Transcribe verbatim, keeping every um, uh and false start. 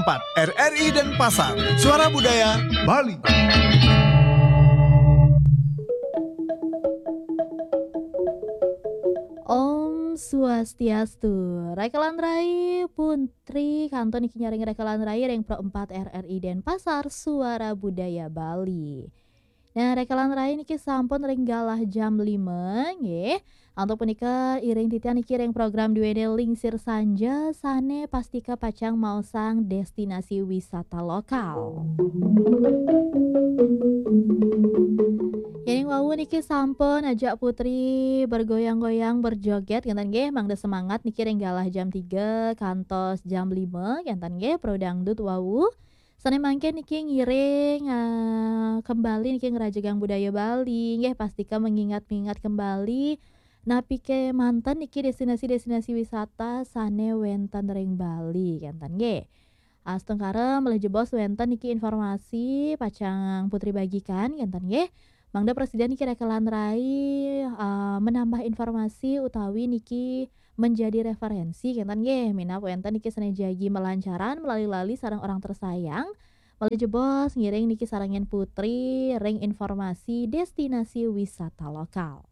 empat R R I Denpasar, Suara Budaya Bali. Om Swastiastu. Rekelan rai Puntri kantun niki nyaring rekelan rai ring Pro empat R R I Denpasar, Suara Budaya Bali. Nah, rekelan rai niki sampun ring galah jam lima, nggih. Antuk punika iring titiang niki ring program duene Lingsir Sanja sane pastika pacang maosang destinasi wisata lokal. Yening wau niki sampun ajak Putri bergoyang-goyang, berjoget, ngenten nggih, mangda semangat niki ring galah jam tiga kantos jam lima, ngenten nggih, Pro Dangdut wau. Sane mangkin niki ngiring, eh, kembali niki ngerajegang budaya Bali, nggih, pastika mengingat-ingat kembali napi ke manten niki destinasi-destinasi wisata sane wenten ring Bali, ngenten nggih. Astungkara malih jebos wenten niki informasi pacang Putri bagikan, ngenten nggih. Mangda prasida niki rekelan rai, eh, menambah informasi utawi niki menjadi referensi, ngenten nggih. Minab wenten niki sane jagi malancaran melali-lali sareng orang tersayang. Malih jebos ngiring niki sareng Putri ring informasi destinasi wisata lokal.